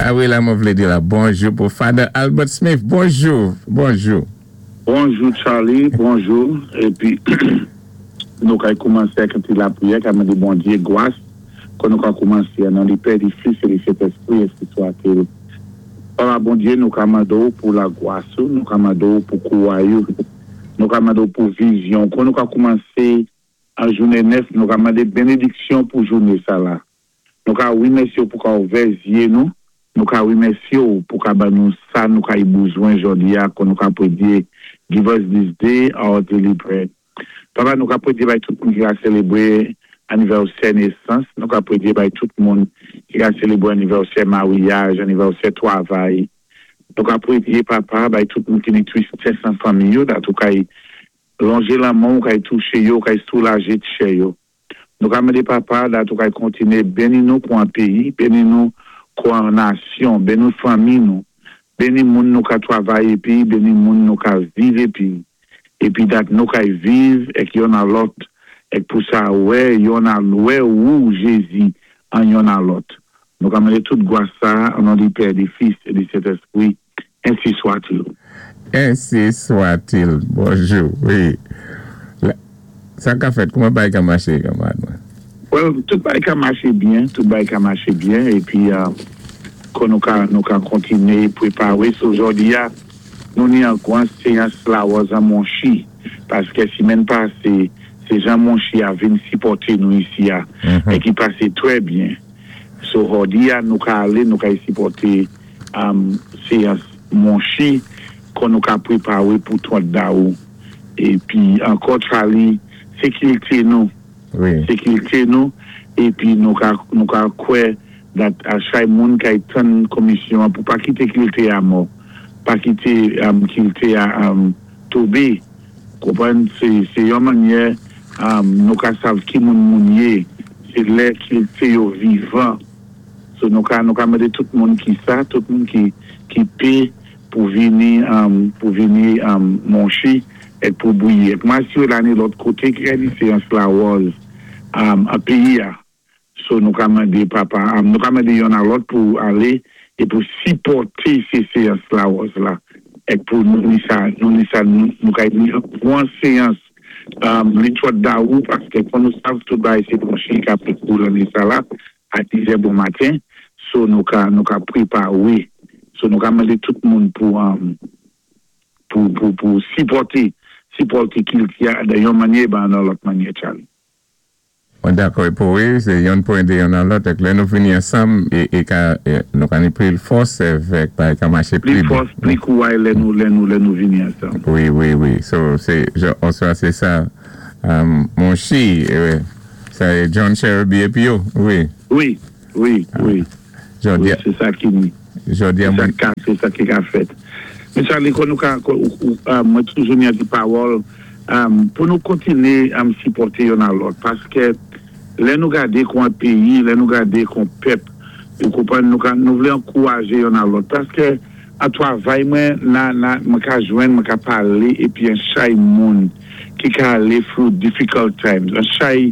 A wi la mwen vlé di la bonjou pou Father Albert Smith bonjou bonjou. Bonjou Charly bonjou epi nou kay koumansé ak yon ti lapriyè ka mande Bondye gwas kon nou ka koumansé an nan li Pè li Fis e li Sentespri ensi swatil Papa Bondye nou ka mande w pou lagwas ou nou ka mande w pou kouray ou nou ka mande w pou vizyon kon nou ka koumanse an jounen 9 nou ka mande benediksyon pou joune sa la nou ka remèsye w pou ka ouvè zye nou nou ka remèsye w pou ka ban nou sa nou ka y bouzwen jòdi a kon nou ka pwedye give us this day our daily bread papa nou ka pwedye bay tout moun ki ka selebre anivèsè nesans nou ka pwedye bay tout moun ki ka selebre anivèsè maryaj anivèsè twavay nou ka pwedye papa bay tout moun ki ni tristès nan fanmi yo dat ou kay Lonje lanmen w kay touche yo, kay soulaje tchè yo. Nou ka mande Papa dat ou kay kontine beni nou kou an peyi, beni nou kou an nasyon, beni fanmi nou, beni moun nou ka twavay epi beni moun nou ka viv epi, epi dat nou kay viv èk yonn a lòt èk pou sa wè yonn a lwè wou Jezi an yonn a lòt. Nou ka mande tout gwas sa a an non di Pè, di Fis e di Sentespri. Ainsi soit-il. Ainsi soit-il. Bonjou wi. Sa ka fèt? Kouman bagay ka mache kanmarad mwen? Well, tout bagay ka mache byen, tout bagay ka mache byen epi kon nou ka nou ka kontine prepare so jodi a nou ni an gwan seyans lawòz an monchi paske simèn pase se jan monchi a vin sipòte nou isi a e ki pase trè byen so jodi a nou ka ale nou ka sipòte Seyans monche kon nou ka prepare pou 30 dawou epi ankò Charly se kilte nou se kilte nou epi nou ka nou ka kwè dat a chay moun kay tann komisyon an pou pa kite kilte a mò pa kite kilte a tobe konprann se se yon mannyè nou ka sav ki moun moun ye se lè kilte yo vivan. So nou ka nou ka mande tout moun ki sa, tout moun ki ki pe pou vini pou vini monchi et pou bwiye. Et mwen asire la ni lòt kote ki ka ni seyans lawòz an peyi a. So nou ka mande papa nou ka mande yonn a lòt pou ale e pou sipòte se seyans lawòz la et pou nou ni sa nou ni sa nou ka ni pwan seyans li twòt dawou paske kon nou sav tout bagay se monchi ka pe kou lane sa la. A 10 è bon maten so nou ka nou ka prepare so nou ka mande tout moun pou pou pou pou sipòte sipòte kilti a dan yon manyè e ban nan lòt manyè Charly. Mwen dakò e pou wi se yonn pou ede yonn a lòt èk lè nou vini ansanm e e ka nou ka ni pli fòs èvèk bagay ka mache pli byen. Pli fòs pli kouray lè nou lè nou lè nou vini ansanm. Wi wi wi so se jan oswa se sa monchi Sa e John Cherubie epi yo wi. Wi, wi, wi. Jodi a. Se sa ki Jodi a mwen. Se sa ki ka fèt. Men Charly kon nou ka mwen toujou ni an ti pawòl pou nou kontine sipòte yonn a lòt paske lè nou gade kon an peyi lè nou gade kon pèp ou konprann nou ka nou vle ankouraje yonn a lòt paske an twavay mwen na na mwen ka jwenn mwen ka pale epi an chay moun ki ka ale through difficult times an chay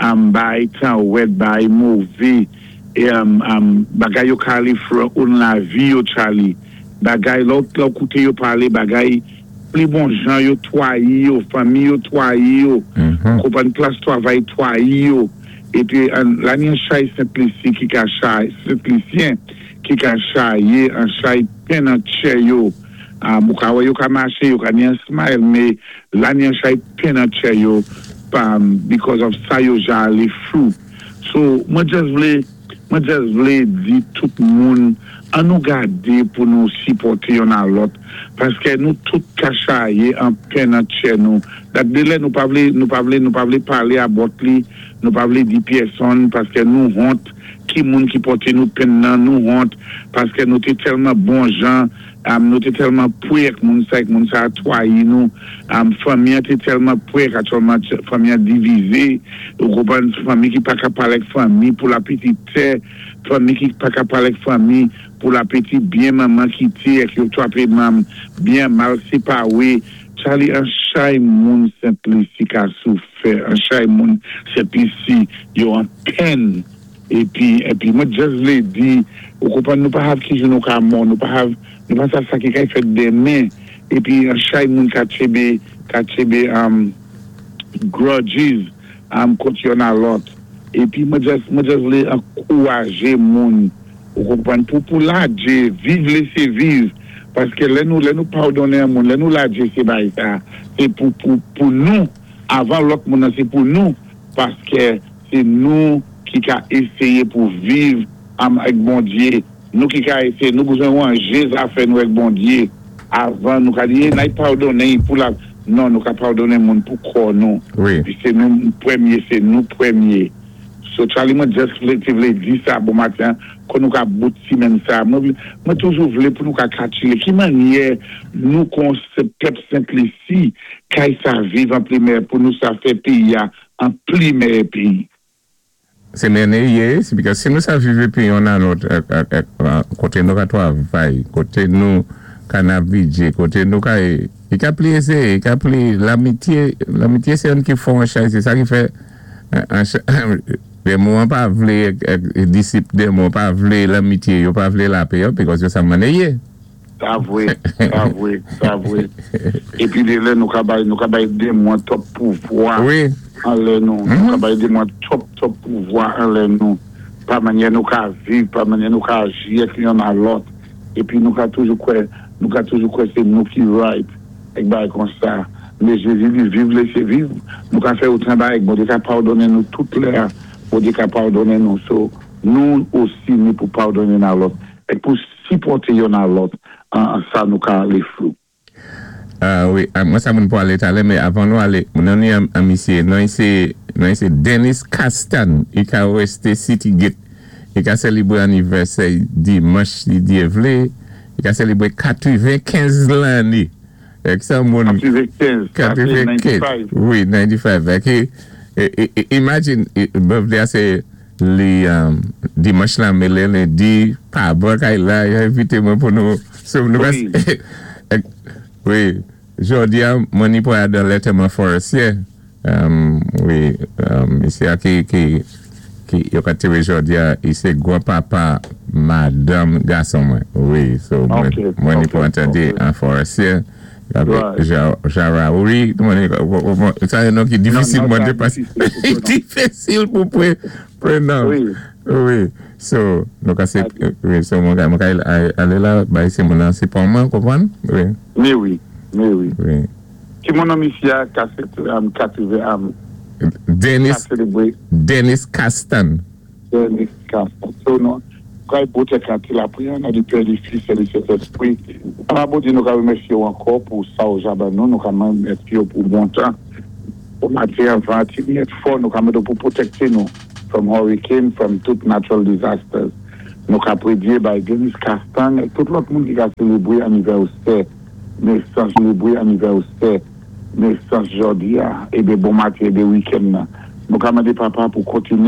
um bay tan wèd bay move um um bagay yo ka ale through oun lavi yo Charly bagay lè w lè w koute yo pale bagay pli bon jan yo twayi yo fanmi yo twayi yo ou konprann plas twavay twayi yo epi an la ni an chay Sent Lisi ki ka chay Sent Lisyen ki ka chaye an chay pen nan tchè yo Ou ka wè yo ka mache, yo ka ni an smile me la ni an chay pen nan tchè yo because of sa yo ja ale through. So mwen just vle mwen just vle di tout moun an nou gade pou nou sipòte yonn a lòt paske nou tout ka chaye an pen nan tchè nou dat de lè nou pa vle nou pa vle nou pa vle pale about li nou pa vle di pyèsonn paske nou hont ki moun ki pòte nou pen nan nou hont paske nou te tèlman bon jan Nou te tèlman pwe ak moun sa ek moun sa a twayi nou fanmi an te tèlman pwe ak aktyèlman fanmi an divize ou konprann fanmi ki paka pale ak fanmi pou la piti tè fanmi ki paka pale ak fanmi pou la piti byen manman kite ak yo twape manm byen mal sepawe Charly an chay moun Sent Lisi ka soufè an chay moun Sent Lisi yo an pèn. Épi mwen just vlé di, ou konpwann, nou pa sav ki jou nou ka mò, nou pa sav, nou pa sav sa ki kay fèt denmen, épi an chay moun ka tchébé grudges kont yonn a lòt. Épi mwen just vlé ankouwajé moun, ou konpwann, pou ladjé, viv, lésé viv, paské lè nou padonnen an moun, lè nou ladjé sé bay sa, sé pou nou, avan lòt moun nan, sé pou nou, paské sé nou ki ka éséyé pou viv ak Bondyé, nou ki ka éséyé, nou bezwen wanjé zafè nou ak Bondyé, avan nou ka di, nay padonnen pou la, non, nou ka padonnen moun pou kò nou. Pi sé nou pwémyé, sé nou pwémyé. So Charlie, mwen just vlé, te vlé di sa bon maten, kon nou ka bout si men sa. Mwen toujou vlé pou nou ka katchilé. Ki mannyè nou kon sé pèp Sent Lisi, kay sa viv an pli mèyè pou nou sa fè péyi a an pli mèyè péyi. Se mène ye, se because si nou sa vive pi yon nan lòt, koté nou ka twavay, koté nou ka navijé, koté nou ka, i ka pli ézé, i ka pli lamitye, lamitye sé yon ki fò an chay, sé sa ki fè, démon an pa vlé, disip démon pa vlé lamitye, yo pa vlé lapè yo, because yo sa mane ye. Sa vwé, sa vwé, sa vwé. Épi dé lè nou ka bay démon twòp pouvwa anlè nou. Nou ka bay démon twòp, twòp pouvwa anlè nou. Pa mannyè nou ka viv, pa mannyè nou ka aji ak yonn a lòt. Épi nou ka toujou kwè sé nou ki right, ek bay kon sa. Men Jézi di viv, lésé viv. Nou ka fè otan bay, Bondyé ka padonnen nou tout lè, Bondyé ka padonnen nou. So, nou osi ni pou padonnen a lòt. Ek pou sipòté yonn a lòt an sa nou ka alé flou. Ah, wi, mwen sa moun pou alé talè, men avan nou alé, mwen ni an misye, non sé Dennis Castan, i ka westé City Gate, i ka sélébwé anivèsè dimanch si Dyé vlé, i ka sélébwé 95 lanné. Ek sa moun 95, 95, wi, 95. Ek, imagine, birthday a sé li dimanch la mélé lendi, pa bon kay la, yo invité mwen pou nou, so nou wi, jòdi a, mwen ni pou a dan Letterman Forestier, wi, misye a ki yo ka tire jòdi a, i sé gwan papa madanm gason mwen, wi, so mwen ni pou entende an Forestier, Jaraoui, sa yon non ki difisil mwen depas, difisil pou prenon, wi, so, nou ka se, wi, so mwen ka ale la, bay se moun an se pon mwen, konpwann, wi. Me wi, me wi. Wi. Ki moun an misye a ka se, katrivè, Dennis, Dennis Castan. Dennis Castan. So, nou, kay bote kanti la priyan, nan di Pè, di Fis, e di Sentespri. An Bondye, nou ka remèsyé ou ankò pou sa ou ja ban nou, nou ka remèsyé ou pou bon tan. Pou maten, van ti byen fò, nou ka mande pou pwotekté nou from hurricane, from tout natural disasters. Nou ka prédyé bay Dennis Castan et tout lòt moun ki ka sélébwé anivèsè, nesans, sélébwé anivèsè, nesans jòdi a, ébé bon maten, ébé week-end nan. Nou ka mandé papa pou kontiné.